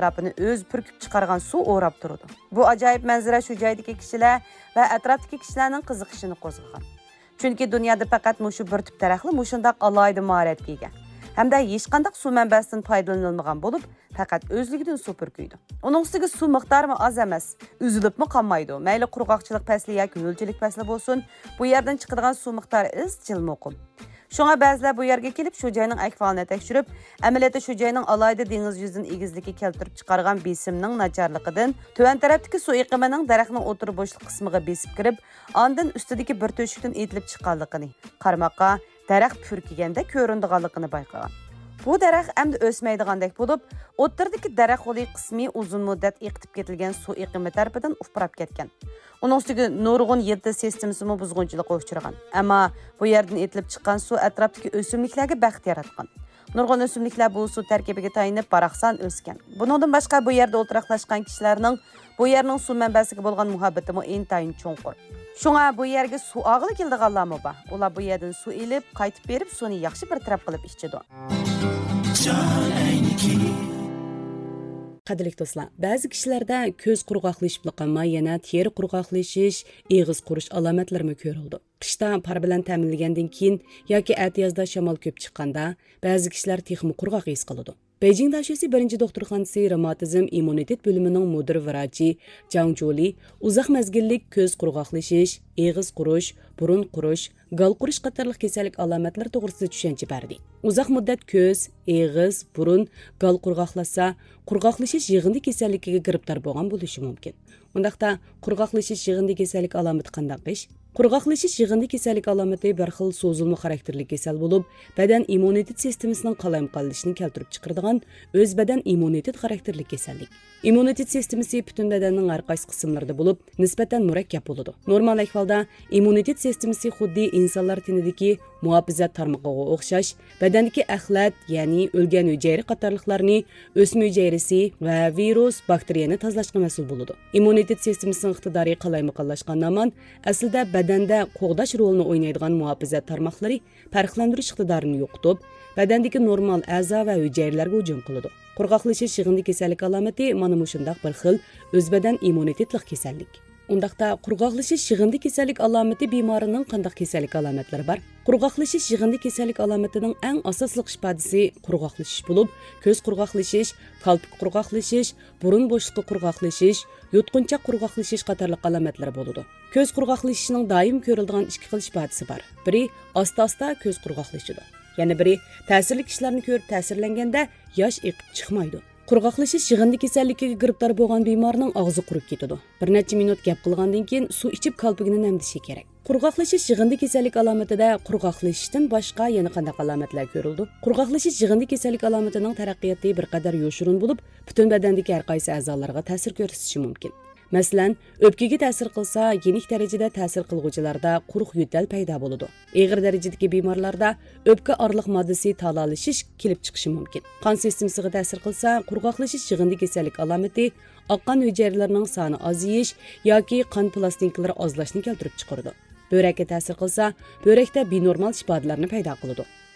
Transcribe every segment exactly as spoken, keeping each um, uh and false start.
ئەتراپىنى ئۆزى پۈركۈپ چىقارغان سۇ ئوراپ تۇرىدۇ. بۇ ئاجايىپ مەنزىرە شۇ جايدىكى كىشىلەر ۋە ئەتراپتىكى كىشىلەرنىڭ قىزىقىشىنى قوزغىغان. چۈنكى دۇنيادا پەقەت مۇشۇ بىر تۈپ دەرەخلا مۇشۇنداق ئالاھىدە ماھارەتكە ئىگە ھەمدە ھېچقانداق سۇ مەنبەسىدىن پايدىلىنىلمىغان بولۇپ، پەقەت ئۆزلۈكىدىن سۇ پۈركۈيدۇ. ئۇنىڭ ئۈستىگە سۇ مىقدارىمۇ ئاز ئەمەس، ئۈزۈلۈپمۇ قالمايدۇ. مەيلى قۇرغاقچىلىق پەسلى ياكى ھۆلچىلىك پەسلى بولسۇن، بۇ يەردىن چىقىدىغان سۇ مىقدارى ئىزچىل مۇقىم. شۇڭا بەزىلەر بۇ يەرگە كېلىپ، شۇ جاينىڭ ئەھۋالىنى تەكشۈرۈپ، ئەمەلىيەتتە شۇ جاينىڭ ئالاھىدە دېڭىز يۈزىدىن ئېگىزلىككە كەلتۈرۈپ چىقارغان بېسىمنىڭ ناچارلىقىدىن تۆۋەن تەرەپتىكى سۇ ئېقىمىنىڭ دەرەخنىڭ ئوتتۇرا بوشلۇق قىسمىغا بېسىپ كىرىپ، ئاندىن ئۈستىدىكى بىر تۆشۈكتىن ئېتىلىپ چىققانلىقىنى، قارىماققا دەرەخ پۈركىگەندەك كۆرۈنىدىغانلىقىنى بايقىغان. بۇ دەرەخ ئەمدى ئۆسمەيدىغاندەك بولۇپ، ئوتتۇرىدىكى دەرەخ غولى قىسمى ئۇزۇن مۇددەت ئېقىتىپ كېتىلگەن سۇ ئېقىمى تەرىپىدىن ئۇپراپ كەتكەن. ئۇنىڭ ئۈستىگە نۇرغۇن يىلتىز سىستېمىسىمۇ بۇزغۇنچىلىققا ئۇچرىغان. ئەمما بۇ يەردىن ئېتىلىپ چىققان سۇ ئەتراپتىكى ئۆسۈملۈكلەرگە بەخت ياراتقان. نۇرغۇن ئۆسۈملۈكلەر بۇ سۇ تەركىبىگە تايىنىپ باراقسان ئۆسكەن. بۇنىڭدىن باشقا، بۇ يەردە ئولتۇراقلاشقان كىشىلەرنىڭ بۇ يەرنىڭ سۇ مەنبەسىگە بولغان مۇھەببىتىمۇ ئىنتايىن چوڭقۇر. شۇڭا بۇ يەرگە سۇ ئالغىلى كېلىدىغانلارمۇ بار. ئۇلار بۇ يەردىن سۇ ئېلىپ، قايتىپ بېرىپ سۇنى ياخشى بىر تەرەپ قىلىپ ئىچىدۇ. قەدىرلىك دوستلار، بەزى كىشىلەردە كۆز قۇرغاقلىشىپلا قالماي، يەنە تېرە قۇرغاقلىشىش، ئېغىز قۇرۇش ئالامەتلىرىمۇ كۆرۈلىدۇ. قىشتا پار بىلەن تەمىنلىگەندىن كېيىن ياكى ئەتىيازدا شامال كۆپ چىققاندا، بەزى كىشىلەر تېخىمۇ قۇرغاق ھېس قىلىدۇ. بېيجىڭ داشۆسى بىرىنچى دوختۇرخانىسى رېماتىزم ئىممۇنىتېت بۆلۈمىنىڭ مۇدىر ۋراچى جاڭ جۇلى ئۇزاق مەزگىللىك كۆز قۇرغاقلىشىش، ئېغىز قۇرۇش، بۇرۇن قۇرۇش، گال قۇرۇش قاتارلىق كېسەللىك ئالامەتلىرى توغرىسىدا چۈشەنچە بەردى. ئۇزاق مۇددەت كۆز، ئېغىز، بۇرۇن، گال قۇرغاقلاشسا، قۇرغاقلىشىش يىغىندى كېسەللىكىگە گىرىپتار بولغان بولۇشى مۇمكىن. ئۇنداقتا، قۇرغاقلىشىش يىغىندى كېسەللىك ئالامىتى قانداق ئىش؟ قۇرغاقلىشىش يىغىندى كېسەللىك ئالامىتى بىر خىل سوزۇلما خاراكتېرلىك كېسەل بولۇپ، بەدەن ئىممۇنىتېت سىستېمىسىنىڭ قالايمىقانلىشىشىنى كەلتۈرۈپ چىقىرىدىغان ئۆز بەدەن ئىممۇنىتېت خاراكتېرلىك كېسەللىك. ئىممۇنىتېت سىستېمىسى پۈتۈن بەدەننىڭ ھەر قايسى قىسىملىرىدا بولۇپ، نىسبەتەن مۇرەككەپ بولىدۇ. نورمال ئەھۋالدا ئىممۇنىتېت سىستېمىسى خۇددى ئىنسانلار تېنىدىكى مۇھاپىزەت تارمىقىغا ئوخشاش، بەدەندىكى ئەخلەت، يەنى ئۆلگەن ھۈجەيرە قاتارلىقلارنى، ئۆسمە ھۈجەيرىسى ۋە ۋىرۇس، باكتېرىيەنى تازىلاشقا مەسئۇل بولىدۇ. ئىممۇنىتېت سىستېمىسىنىڭ ئىقتىدارى قالايمىقانلاشقاندا ھامان، ئەسلىدە بەدەندە قوغداش رولىنى ئوينايدىغان مۇھاپىزەت تارماقلىرى پەرقلەندۈرۈش ئىقتىدارىنى يوقىتىپ، بەدەندىكى نورمال ئەزا ۋە ھۈجەيرىلەرگە ھۇجۇم قىلىدۇ. قۇرغاقلىشىش يىغىندى كېسەللىك ئالامىتى مانا مۇشۇنداق بىر خىل ئۆز بەدەن ئىممۇنىتېتلىق كېسەللىك. ئۇنداقتا، قۇرغاقلىشىش يىغىندى كېسەللىك ئالامىتى بىمارىنىڭ قانداق كېسەللىك ئالامەتلىرى بار؟ قۇرغاقلىشىش يىغىندى كېسەللىك ئالامىتىنىڭ ئەڭ ئاساسلىق ئىپادىسى قۇرغاقلىشىش بولۇپ، كۆز قۇرغاقلىشىش، كالپۇك قۇرغاقلىشىش، بۇرۇن بوشلۇقى قۇرغاقلىشىش، يۇتقۇنچاق قۇرغاقلىشىش قاتارلىق ئالامەتلەر بولىدۇ. كۆز قۇرغاقلىشىشنىڭ دائىم كۆرۈلىدىغان ئىككى خىل ئىپادىسى بار. بىرى، ئاستا-ئاستا كۆز قۇرغاقلىشىدۇ. يەنە بىرى، تەسىرلىك كىشىلەرنى كۆرۈپ تەسىرلەنگەندە ياش ئېقىپ چىقمايدۇ. قۇرغاقلىشىش يىغىندى كېسەللىكىگە گىرىپتار بولغان بىمارنىڭ ئاغزى قۇرۇپ كېتىدۇ. بىر نەچچە مىنۇت گەپ قىلغاندىن كېيىن سۇ ئىچىپ كالپۇكىنى نەمدىشى كېرەك. قۇرغاقلىشىش يىغىندى كېسەللىك ئالامىتىدە قۇرغاقلىشىشتىن باشقا يەنە قانداق ئالامەتلەر كۆرۈلىدۇ؟ قۇرغاقلىشىش يىغىندى كېسەللىك ئالامىتىنىڭ تەرەققىياتى بىر قەدەر يوشۇرۇن بولۇپ، پۈتۈن بەدەندىكى ھەر قايسى ئەزالارغا تەسىر كۆرسىتىشى مۇمكىن. مەسىلەن، ئۆپكىگە تەسىر قىلسا، يېنىك دەرىجىدە تەسىر قىلغۇچىلاردا قۇرۇق يۆتەل پەيدا بولىدۇ. ئېغىر دەرىجىدىكى بىمارلاردا ئۆپكە ئارىلىق ماددىسى تالايلىشىش كېلىپ چىقىشى مۇمكىن. قان سىستېمىسىغا تەسىر قىلسا، قۇرغاقلىشىش يىغىندى كېسەللىك ئالامىتى ئاق قان ھۈجەيرىلىرىنىڭ سانى ئازىيىش ياكى قان پىلاستىنكىلىرى ئازلاشنى كەلتۈرۈپ چىقىرىدۇ. بۆرەككە تەسىر قىلسا، بۆرەكتە بىنورمال ئىپادىلەرنى پەيدا قىلىدۇ.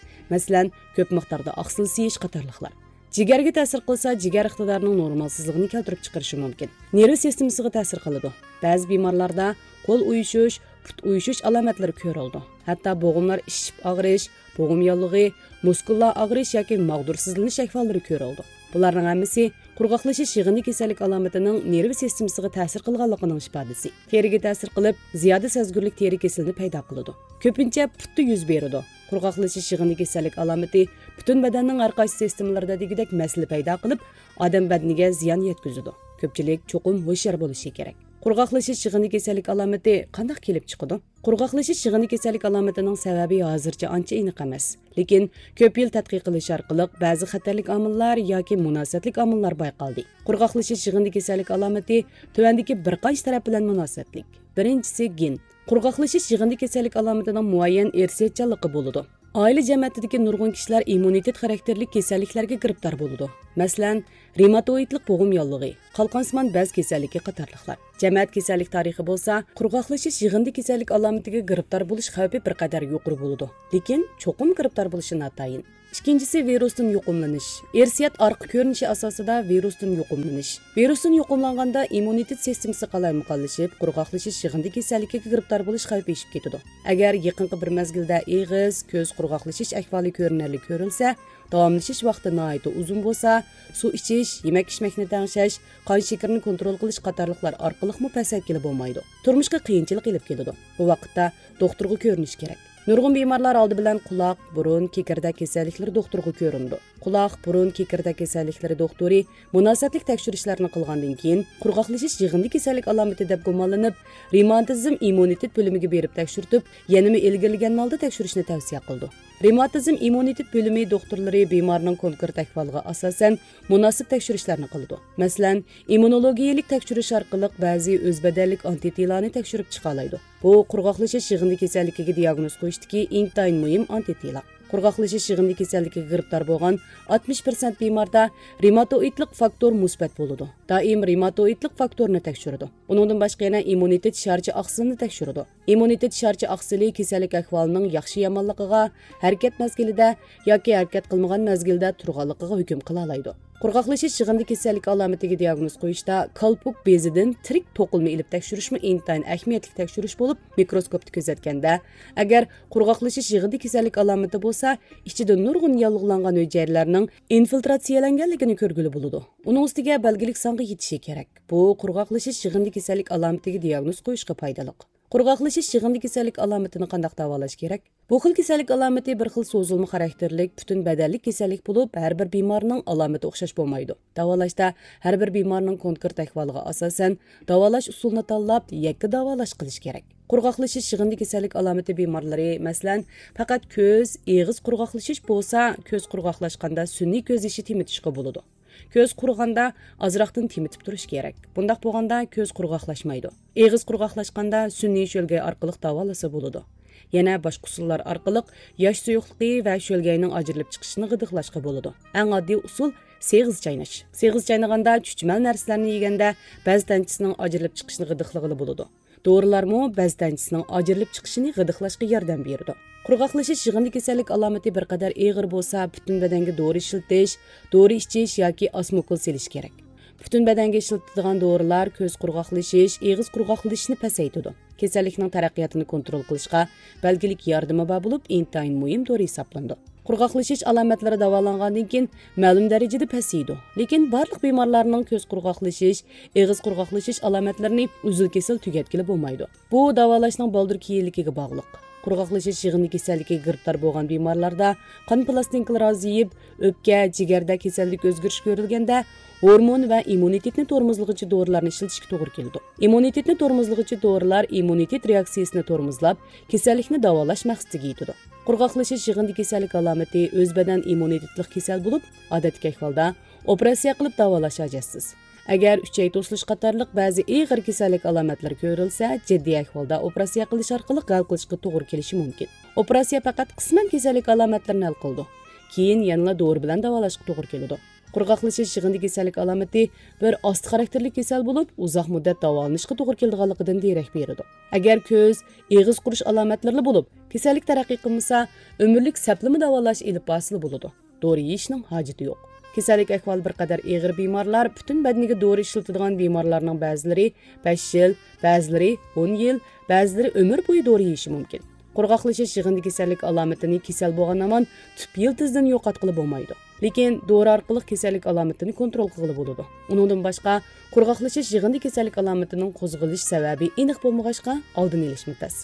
مەسىلەن، كۆپ مىقداردا ئاقسىل سىيىش قاتارلىقلار. جىگەرگە تەسىر قىلسا، جىگەر ئىقتىدارىنىڭ نورمالسىزلىقىنى كەلتۈرۈپ چىقىرىشى مۇمكىن. نېرۋا سىستېمىسىغا تەسىر قىلىدۇ. بەزى بىمارلاردا قول ئۇيۇشۇش، پۇت ئۇيۇشۇش ئالامەتلىرى كۆرۈلىدۇ. ھەتتا بوغۇملار ئىششىپ ئاغرىش، بوغۇم ياللۇغى، مۇسكۇللار ئاغرىش ياكى ماغدۇرسىزلىنىش ئەھۋاللىرى كۆرۈلىدۇ. بۇلارنىڭ ھەممىسى قۇرغاقلىشىش يىغىندى كېسەللىك ئالامىتىنىڭ نېرۋا سىستېمىسىغا تەسىر قىلغانلىقىنىڭ ئىپادىسى. تېرىگە تەسىر قىلىپ، زىيادە سەزگۈرلۈك تېرە كېسىلىنى پەيدا قىلىدۇ. كۆپىنچە پۇتتا يۈز بېرىدۇ. قۇرغاقلىشىش يىغىندى كېسەللىك ئالامىتى پۈتۈن بەدەننىڭ ھەر قايسى سىستېمىلىرىدا دېگۈدەك مەسىلە پەيدا قىلىپ، ئادەم بەدىنىگە زىيان يەتكۈزىدۇ. كۆپچىلىك چوقۇم ھوشيار بولۇشى كېرەك. قۇرغاقلىشىش يىغىندى كېسەللىك ئالامىتى قانداق كېلىپ چىقىدۇ؟ قۇرغاقلىشىش يىغىندى كېسەللىك ئالامىتىنىڭ سەۋەبى ھازىرچە ئانچە ئېنىق ئەمەس. لېكىن كۆپ يىل تەتقىق قىلىش ئارقىلىق بەزى خەتەرلىك ئامىللار ياكى مۇناسىۋەتلىك ئامىللار بايقالدى. قۇرغاقلىشىش يىغىندى كېسەللىك ئالامىتى تۆۋەندىكى بىر قانچە تەرەپ بىلەن مۇناسىۋەتلىك. بىرىنچىسى، گېن. قۇرغاقلىشىش يىغىندى كېسەللىك ئالامىتىنىڭ مۇئەييەن ئىرسىيەتچانلىقى بولىدۇ. ئائىلە جەمەتىدىكى نۇرغۇن كىشىلەر ئىممۇنىتېت خاراكتېرلىك كېسەللىكلەرگە گىرىپتار بولىدۇ. مەسىلەن، رېماتوئىدلىق بوغۇم ياللۇغى، قالقانسىمان بەز كېسەللىكى قاتارلىقلار. جەمەت كېسەللىك تارىخى بولسا، قۇرغاقلىشىش يىغىندى كېسەللىك ئالامىتىگە گىرىپتار بولۇش خەۋپى بىر قەدەر يۇقىرى بولىدۇ، لېكىن چوقۇم گىرىپتار بولۇشى ناتايىن. ئىككىنچىسى، ۋىرۇستىن يۇقۇملىنىش. ئىرسىيەت ئارقا كۆرۈنۈشى ئاساسىدا ۋىرۇستىن يۇقۇملىنىش. ۋىرۇستىن يۇقۇملانغاندا ئىممۇنىتېت سىستېمىسى قالايمىقانلىشىپ، قۇرغاقلىشىش يىغىندى كېسەللىكىگە گىرىپتار بولۇش خەۋپى ئېشىپ كېتىدۇ. ئەگەر يېقىنقى بىر مەزگىلدە ئېغىز، كۆز قۇرغاقلىشىش ئەھۋالى كۆرۈنەرلىك كۆرۈلسە، داۋاملىشىش ۋاقتى ناھايىتى ئۇزۇن بولسا، سۇ ئىچىش، يېمەك ئىچمەكنى تەڭشەش، قان شېكىرىنى كونترول قىلىش قاتارلىقلار ئارقىلىقمۇ پەسەيتكىلى بولمايدۇ. تۇرمۇشقا قىيىنچىلىق ئېلىپ كېلىدۇ. بۇ ۋاقىتتا دوختۇرغا كۆرۈنۈش كېرەك. نۇرغۇن بىمارلار ئالدى بىلەن قۇلاق، بۇرۇن، كېكىردەك كېسەللىكلىرى دوختۇرىغا كۆرۈنىدۇ. قۇلاق، بۇرۇن، كېكىردەك كېسەللىكلىرى دوختۇرى مۇناسىۋەتلىك تەكشۈرۈشلەرنى قىلغاندىن كېيىن، قۇرغاقلىشىش يىغىندى كېسەللىك ئالامىتى دەپ گۇمانلىنىپ، رېماتىزم ئىممۇنىتېت بۆلۈمىگە بېرىپ تەكشۈرتۈپ، يەنىمۇ ئىلگىرىلىگەن ھالدا تەكشۈرۈشنى تەۋسىيە قىلىدۇ. رېماتىزم ئىممۇنىتېت بۆلۈمى دوختۇرلىرى بىمارنىڭ كونكرېت ئەھۋالىغا ئاساسەن مۇناسىپ تەكشۈرۈشلەرنى قىلىدۇ. مەسىلەن، ئىممۇنولوگىيەلىك تەكشۈرۈش ئارقىلىق بەزى ئۆز بەدەنلىك ئانتىتېلانى تەكشۈرۈپ چىقالايدۇ. بۇ قۇرغاقلىشىش يىغىندى كېسەللىكىگە دىياگنوز قويۇشتىكى ئىنتايىن مۇھىم ئانتىتېلا. قۇرغاقلىشىش يىغىندى كېسەللىكىگە گىرىپتار بولغان ئاتمىش پىرسەنت بىماردا رېماتوئىدلىق فاكتور مۇسبەت بولىدۇ. دائىم رېماتوئىدلىق فاكتورنى تەكشۈرىدۇ. ئۇنىڭدىن باشقا يەنە ئىممۇنىتېت شارچە ئاقسىلىنى تەكشۈرىدۇ. ئىممۇنىتېت شارچە ئاقسىلى كېسەللىك ئەھۋالىنىڭ ياخشى-يامانلىقىغا، ھەرىكەت مەزگىلىدە ياكى ھەرىكەت قىلمىغان مەزگىلدە تۇرغانلىقىغا ھۆكۈم قىلالايدۇ. قۇرغاقلىشىش يىغىندى كېسەللىك ئالامىتىگە دىياگنوز قويۇشتا كالپۇك بېزىدىن تىرىك توقۇلما ئېلىپ تەكشۈرۈشمۇ ئىنتايىن ئەھمىيەتلىك تەكشۈرۈش بولۇپ، مىكروسكوپتا كۆزەتكەندە، ئەگەر قۇرغاقلىشىش يىغىندى كېسەللىك ئالامىتى بولسا، ئىچىدە نۇرغۇن ياللۇغلانغان ھۈجەيرىلەرنىڭ ئىنفىلتراتسىيەلەنگەنلىكىنى كۆرگىلى بولىدۇ. ئۇنىڭ ئۈستىگە بەلگىلىك سانغا يېتىشى كېرەك. بۇ قۇرغاقلىشىش يىغىندى كېسەللىك ئالامىتىگە دىياگنوز قويۇشقا پايدىلىق. قۇرغاقلىشىش يىغىندى كېسەللىك ئالامىتىنى قانداق داۋالاش كېرەك؟ بۇ خىل كېسەللىك ئالامىتى بىر خىل سوزۇلما خاراكتېرلىك، پۈتۈن بەدەنلىك كېسەللىك بولۇپ، ھەر بىر بىمارنىڭ ئالامىتى ئوخشاش بولمايدۇ. داۋالاشتا ھەر بىر بىمارنىڭ كونكرېت ئەھۋالىغا ئاساسەن، داۋالاش ئۇسۇلىنى تاللاپ، يەككە داۋالاش قىلىش كېرەك. قۇرغاقلىشىش يىغىندى كېسەللىك ئالامىتى بىمارلىرى، مەسىلەن، پەقەت كۆز، ئېغىز قۇرغاقلىشىش بولسا، كۆز قۇرغاقلاشقاندا سۈنئىي كۆز يېشى تېمىتىشقا بولىدۇ. كۆز قۇرۇغاندا ئازراقتىن تېمىتىپ تۇرۇش كېرەك. بۇنداق بولغاندا كۆز قۇرغاقلاشمايدۇ. ئېغىز قۇرغاقلاشقاندا سۈنئىي شۆلگەي ئارقىلىق داۋالىسا بولىدۇ. يەنە باشقا ئۇسۇللار ئارقىلىق ياش سۇيۇقلۇقى ۋە شۆلگەينىڭ ئاجرىلىپ چىقىشىنى غىدىقلاشقا بولىدۇ. ئەڭ ئاددىي ئۇسۇل سېغىز چايناش. سېغىز چاينىغاندا چۈچۈمەل نەرسىلەرنى يېگەندە بەز تەنچىسىنىڭ ئاجرىلىپ چىقىشىنى غىدىقلىغىلى بولىدۇ. دورىلارمۇ بەز تەنچىسىنىڭ ئاجرىلىپ چىقىشىنى غىدىقلاشقا ياردەم بېرىدۇ. قۇرغاقلىشىش يىغىندى كېسەللىك ئالامىتى بىر قەدەر ئېغىر بولسا، پۈتۈن بەدەنگە دورا ئىشلىتىش، دورا ئىچىش ياكى ئاسموكۇل سېلىش كېرەك. پۈتۈن بەدەنگە ئىشلىتىدىغان دورىلار كۆز قۇرغاقلىشىش، ئېغىز قۇرغاقلىشىشنى پەسەيتىدۇ. كېسەللىكنىڭ تەرەققىياتىنى كونترول قىلىشقا بەلگىلىك ياردىمى بار بولۇپ، ئىنتايىن مۇھىم دورا ھېسابلىنىدۇ. قۇرغاقلىشىش ئالامەتلىرى داۋالانغاندىن كېيىن مەلۇم دەرىجىدە پەسىيىدۇ، لېكىن بارلىق بىمارلارنىڭ كۆز قۇرغاقلىشىش، ئېغىز قۇرغاقلىشىش ئالامەتلىرىنى ئۈزۈل-كېسىل تۈگەتكىلى بولمايدۇ. بۇ داۋالاشنىڭ بالدۇر كېيىنلىكىگە باغلىق. قۇرغاقلىشىش يىغىندى كېسەللىكىگە گىرىپتار بولغان بىمارلاردا قان پىلاستىنكىلىرى ئازىيىپ، ئۆپكە، جىگەردە كېسەللىك ئۆزگىرىش كۆرۈلگەندە، ھورمون ۋە ئىممۇنىتېتنى تورمۇزلىغۇچى دورىلارنى ئىشلىتىشكە توغرا كېلىدۇ. ئىممۇنىتېتنى تورمۇزلىغۇچى دورىلار ئىممۇنىتېت رېئاكسىيىسىنى تورمۇزلاپ، كېسەللىكنى داۋالاش مەقسىتىگە يېتىدۇ. قۇرغاقلىشىش يىغىندى كېسەللىك ئالامىتى ئۆز بەدەن ئىممۇنىتېتلىق كېسەل بولۇپ، ئادەتتىكى ئەھۋالدا ئوپېراتسىيە قىلىپ داۋالاش ھاجەتسىز. ئەگەر ئۈچەي توسۇلۇش قاتارلىق بەزى ئېغىر كېسەللىك ئالامەتلىرى كۆرۈلسە، جىددىي ئەھۋالدا ئوپېراتسىيە قىلىش ئارقىلىق ھەل قىلىشقا توغرا كېلىشى مۇمكىن. ئوپېراتسىيە پەقەت قىسمەن كېسەللىك ئالامەتلىرىنى ھەل قىلىدۇ. كېيىن يەنىلا دورا بىلەن داۋالاشقا توغرا كېلىدۇ. قۇرغاقلىشىش يىغىندى كېسەللىك ئالامىتى بىر ئاستا خاراكتېرلىك كېسەل بولۇپ، ئۇزاق مۇددەت داۋالىنىشقا توغرا كېلىدىغانلىقىدىن دېرەك بېرىدۇ. ئەگەر كۆز، ئېغىز قۇرۇش ئالامەتلىرىلا بولۇپ، كېسەللىك تەرەققىي قىلمىسا، ئۆمۈرلۈك سەپلىمە داۋالاش ئېلىپ بارسىلا بولىدۇ. دورا يېيىشنىڭ ھاجىتى يوق. كېسەللىك ئەھۋالى بىر قەدەر ئېغىر بىمارلار، پۈتۈن بەدىنىگە دورا ئىشلىتىدىغان بىمارلارنىڭ بەزىلىرى بەش يىل، بەزىلىرى ئون يىل، بەزىلىرى ئۆمۈر بويى دورا يېيىشى مۇمكىن. قۇرغاقلىشىش يىغىندى كېسەللىك ئالامىتىنى كېسەل بولغان ھامان تۈپ يىلتىزىدىن يوقاتقىلى بولمايدۇ. لېكىن دورا ئارقىلىق كېسەللىك ئالامىتىنى كونترول قىلغىلى بولىدۇ. ئۇنىڭدىن باشقا، قۇرغاقلىشىش يىغىندى كېسەللىك ئالامىتىنىڭ قوزغىلىش سەۋەبى ئېنىق بولمىغاچقا، ئالدىنى ئېلىشمۇ تەس.